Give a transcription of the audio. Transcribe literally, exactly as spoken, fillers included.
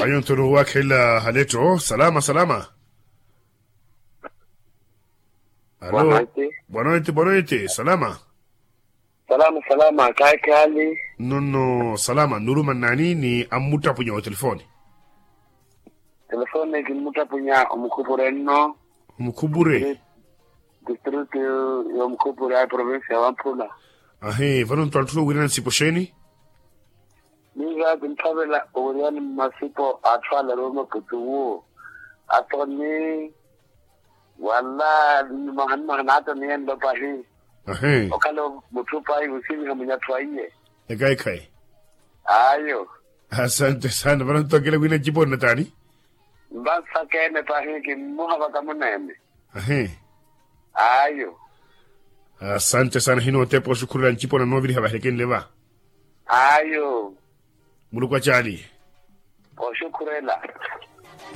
Anyontho nuwakhela haletto salama salama. Alo. Bwanweti. Bwanweti bwanweti salama. Salama salama kayi khali. Nonno salama nuruma nnani ni ammuttapunya wa telefoni? Telefoni kimmuttapunya omukhupure nno. Omukhupure. Distritu y'omukhupure a provinsi ya wamphula. Ahi vano ntwantthula owirana nsipo xeeni? Miiva kinthavela owiryani mmasipo atthu ale aruwe maputu wu atoni wala nimaha nimaha naatoniyenlo pahi. Ahi. Okhala mutthu pahi wisiviha munyatthu aiye. Ekhayi ekhayi. Ayo. Asante sana vano ntokela wina nciponi na taani? Mvansakene pahi kimmuha vakamuneene. Ahi. Ayo. Asante sana hino otepa oxukhurela ncipona nooviriha vahirekenle va. Ayo. Muluku acaali. Oxukhurela.